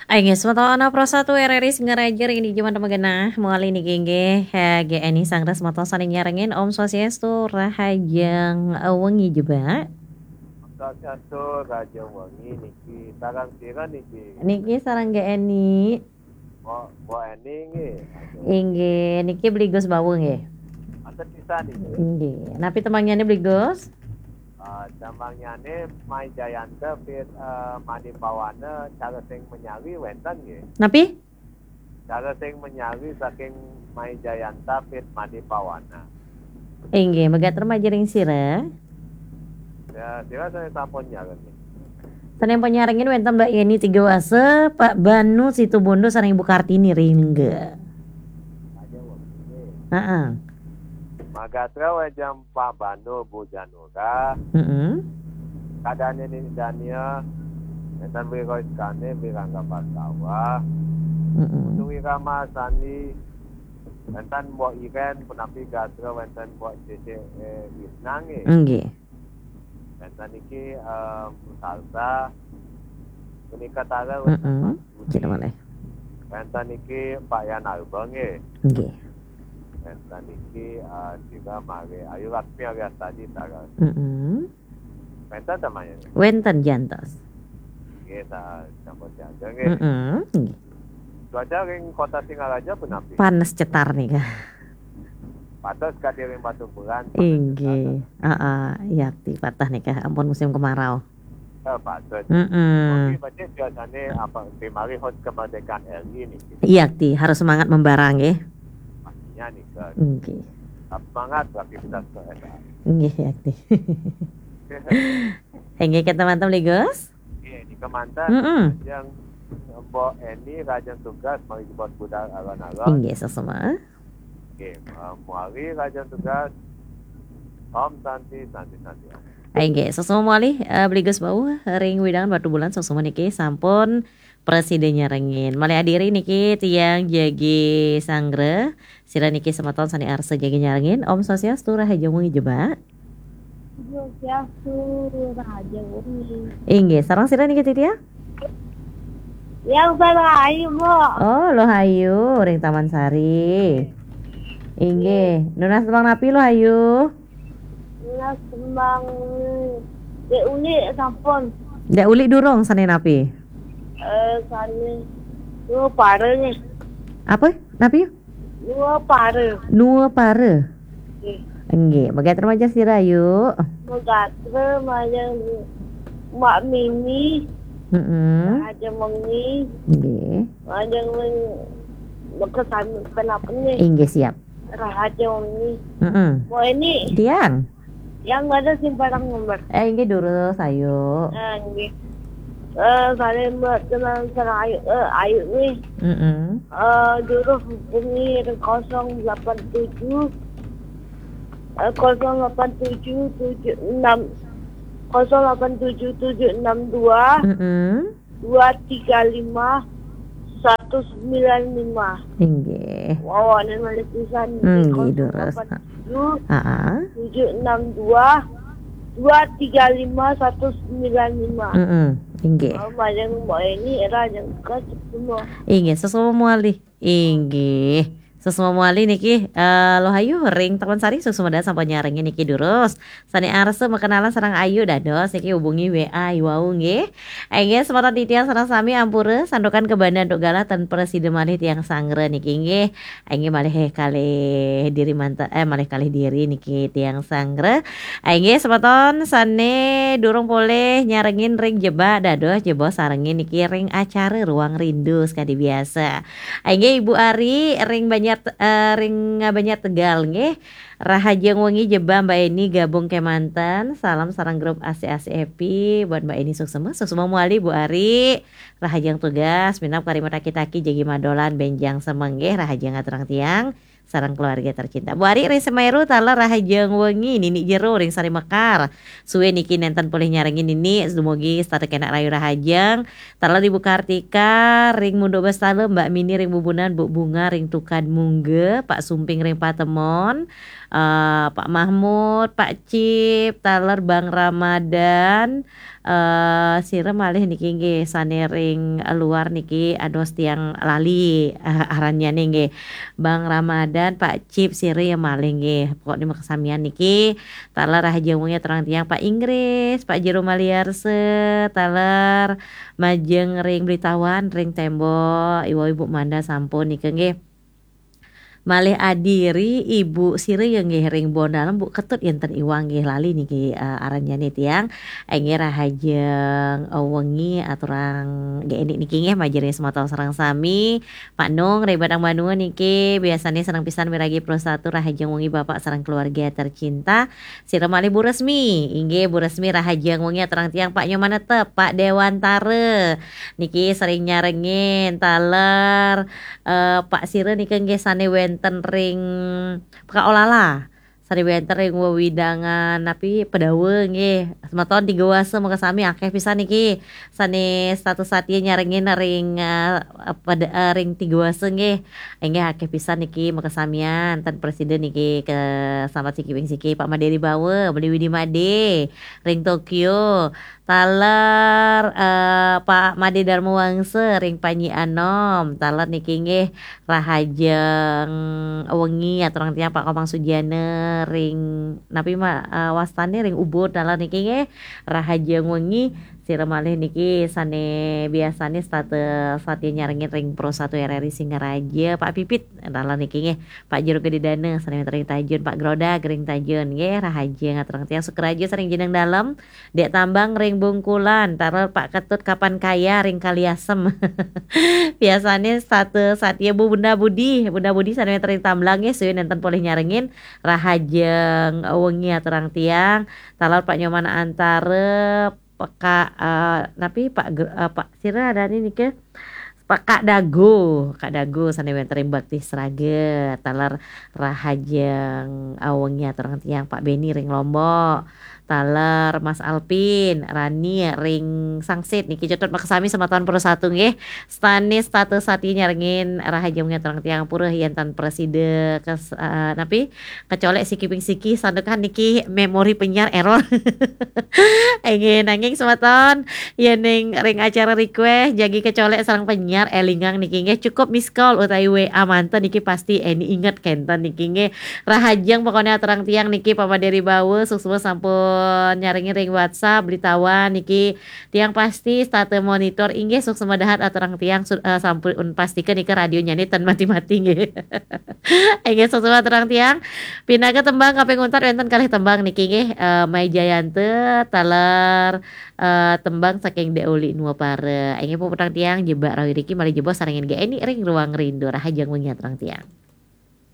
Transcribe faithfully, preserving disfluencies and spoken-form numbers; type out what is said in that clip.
Inggih, semeton Pro satu R R I Singaraja, ring dija manten magenah, malih niki inggih, eh, G N I sanggra semeton sané nyarengin, Om Swastiastu, rahajeng wengi jebak. Om Swastiastu, rahajeng wengi niki, sareng sira niki? Niki sareng G N I. Oh, Bu Eni nggih. Inggih, niki Bli Gus Bawu nggih. Manten pisan niki. Inggih. Napi tembangnyané Bli Gus? Ah, tembangnyané Mai Jayanta Pit, eh, Made Pawana, cara sing manyari wénten nggih. Napi? Cara sing manyari saking Mai Jayanta Pit Made Pawana. Inggih, magatra majeng ring sira. Ya, sira sané sampun nyarengin. Sané sampun nyarengin wénten Mbak Yeni Tiga Wasa, Pak Banu Situbondo sareng Ibu Kartini Ringga. Aja wong nggih. Heeh. Magatra wénten Pak Banu, Bu Janura. Heeh. Kadane Nini Dania, wénten Wiro Iskane, Wirangga Pastawa. Heeh. Putu Wirama Sandi, wénten Mbok Iren, punapi gatra wénten Mbok Cece, eh, Wisna nggih. Nggih. Wénten niki, eh, Bu Salsa, punika taler wénten. Heeh. Pak Budi. Kita malih. Wénten niki Pak Yan Arba nggih. Nggih. Wénten niki, eh, juga malih Ayu Laksmi alias tadi taler. Heeh. Wénten tembangnyané? Wénten jantos. Nggih, sa-, sampun jaga nggih. Heeh, nggih. Cuaca ring Kota Singaraja punapi? Panas cetar nika. Patos kadi ring Batubulan, panas cetar. Inggih. Heeh, yakti patah nika, ampun musim kemarau. Eh, patos. Heeh. Oke, berarti biasanya apa, rimari hut kemerdekaan R I niki? Yakti, harus semangat membara nggih. Pastinya nika. Nggih. Tetap semangat beraktivitas ke S A. Nggih, yakti. Inggih, kita manten, Bli Gus. Nggih, nika manten. Mm-mm. Yang Mbok Eni, rahajeng tugas, malih jebos budal alon-alon. Inggih, sesama. Nggih, eh, Muari, rahajeng tugas. Om Santi, Santi, Santi, Om. Inggih, sesama malih, eh, Bli Gus Bawu, ring wewidangan Batubulan, sesama niki sampun prasida nyarengin. Malih adiri niki tiang jagi sanggra. Sira niki semeton sané arsa jagi nyarengin. Om Swastiastu, rahajeng wengi jebak. Swastiastu, rahajeng wengi. Inggih, sareng sira niki titiang? Yang sareng Ayu, Bu. Oh, Luh Ayu, ring Taman Sari. Inggih, nunas tembang napi Luh Ayu? Nunas tembang Dék Uli sampun. Dék Uli durung, sané napi? Eh, sané Nua Para nggih. Apa? Napi? Nua Para. Nua Para. Nggih. Nggih, magatra majeng sira, Yu. Magatra majeng Mbak Mimi. Heeh. Rahajeng wengi. Nggih. Majeng wengi. Bekesan kenapa nih? Inggih, siap. Rahajeng wengi. Heeh. Mau ini. Tiang. Yang ada simpan nomor. Eh, inggih durus, Ayu. Ah, nggih. Eh, sané Mbak Tenang sareng Ayu, eh, Ayu nih. Heeh. Eh, durus hubungi kosong delapan tujuh, eh, kosong delapan tujuh tujuh enam, kosong delapan tujuh tujuh enam dua. Heeh. Dua tiga lima satu sembilan lima. Inggih. Wow, ada malih pisan. Nggih, durus. Kosong delapan tujuh, heeh, tujuh enam dua, dua tiga lima satu sembilan lima. Heeh, inggih. Om, majeng Mbok Eni, rahajeng tugas semua. Inggih, sesama malih. Inggih. Sesama malih niki, eh, Luh Ayu ring Taman Sari, suksma dahat sampun nyarengin niki durus. Sané arsa makenalan sareng Ayu dados niki hubungi W A iwau nggih. Inggih, semeton titiang sareng sami ampura santukan kabanda antuk galah tan prasida malih tiang sanggra niki nggih. Inggih malih kalih diri manten, eh, malih kalih diri niki tiang sanggra. Inggih semeton sané durung polih nyarengin ring jebak dados jebos sarengin niki ring acara Ruang Rindu sekadi biasa. Inggih, Ibu Ari ring Banjar, eh, ring Banjar Tegal nggih. Rahajeng wengi jebak Mbak Eni gabung kémanten. Salam sareng grup A C A C Happy. Buat Mbak Eni suksma, suksma malih Bu Ari. Rahajeng tugas, minab kari mataki-taki jagi madolan bénjang semeng nggih. Rahajeng aturang tiang sareng keluarga tercinta. Bu Ari ring Semeru taler rahajeng wengi, Nini Jero ring Sari Mekar. Sué niki nénten polih nyarengin Nini, dumugi setata kénak rahayu rahajeng. Taler Ibu Kartika ring Munduk Bestala, Mbak Mini ring Bubunan, Bu Bunga ring Tukad Mungga, Pak Sumping ring Patemon, eh, Pak Mahmud, Pak Cip, taler Bang Ramadan, Eh, sira malih niki nggih, sane ring luar niki, ados tiang lali, eh, arannyane nggih. Bang Ramadan, Pak Cip, sira ya malih nggih. Pokokne makasamian niki, taler rahajeng wengi aturang tiang, Pak Inggris, Pak Jero Maliarsa, taler majeng ring Blitawan, ring Tembok, Iwa Ibu Manda sampun nika nggih. Malih adiri Ibu sira ya nggih ring Bondalam, Bu Ketut, yenten Iwang nggih, lali niki, eh, arannyane tiang. Inggih rahajeng, eh, wengi aturang G N I niki nggih, majeng ring semeton sareng sami. Pak Nung ring Batang Banua niki biasane seneng pisan miragi Pro Satu, rahajeng wengi Bapak sareng keluarga tercinta. Sira malih Bu Resmi, inggih Bu Resmi rahajeng wengi aturang tiang, Pak Nyoman Netep, Pak Dewantara. Niki sering nyarengin, taler, eh, Pak sira nika nggih sane wenten ring Pekaolala. Sane wenten ring wewidangan napi Pedawa nggih. Semeton Tiga Wasa makasami akeh pisan niki. Sane setata satia nyarengin ring, eh, peda-, eh, ring Tiga Wasa nggih. Inggih akeh pisan niki makasamian. Ten prasida niki kasambat siki ping siki, Pak Made Ribawa, Beli Widi Made ring Tokyo. Taler, eh, Pak Made Darma Wangsa ring Panji Anom. Taler niki nggih rahajeng wengi aturang tiang, Pak Komang Sugiana ring napi ma-, eh, wastane ring Ubud. Taler niki nggih rahajeng wengi, sira malih niki sane biasane setata satia nyarengin ring Pro Satu R R I Singaraja, Pak Pipit. Taler niki nggih, Pak Jero Gede Dana sane wenten ring Tajun, Pak Grodag ring Tajun nggih, rahajeng aturang tiang, Sukaraja sareng Jeneng Dalem, Dek Tambang ring Bungkulan, taler Pak Ketut Kapan Kaya ring Kaliasem. Biasane setata satia Bu Bunda Budi, Bunda Budi sane wenten ring Tamblang nggih, suwin nenten polih nyarengin, rahajeng wengi aturang tiang, taler Pak Nyoman Antara, Peka, eh, napi Pak Gr-, eh, Pak sira adane nika? Pak Kak Dago, Kak Dago sane wenten ring Bakti Sraga, taler rahajeng wengi aturang tiang, Pak Beni ring Lombok, taler Mas Alpin, Rani ring Sangsit niki, cetut makasami semeton Pro Satu nggih. Setane setata satia nyarengin, rahajeng wengi aturang tiang, pura yen tan prasida kes-, eh, napi? Kecolek siki ping siki, santukan niki memori penyiar error. Inggih, nanging semeton, yening ring acara request, jagi kecolek sareng penyiar, elingang niki nggih, cukup miss call utawi W A manten niki pasti Eni inget kenten niki nggih. Rahajeng pokokne aturang tiang niki, Pak Made Ribawa, suksma sampun nyarengin ring WhatsApp, Blitawan niki, tiang pasti setata monitor, inggih, suksma dahat aturang tiang, su-, eh, sampun pastika nika radionya ni ten mati-mati nggih. Inggih, suksma aturang tiang. Pinaka tembang kaping untat wenten kalih tembang niki nggih, eh, Mai Jayanta, taler, eh, tembang saking Dek Uli Nuapara. Inggih, puputang tiang, jebak rawi riki malih jebos sarengin G N I ring Ruang Rindu, rahajeng wengi aturang tiang.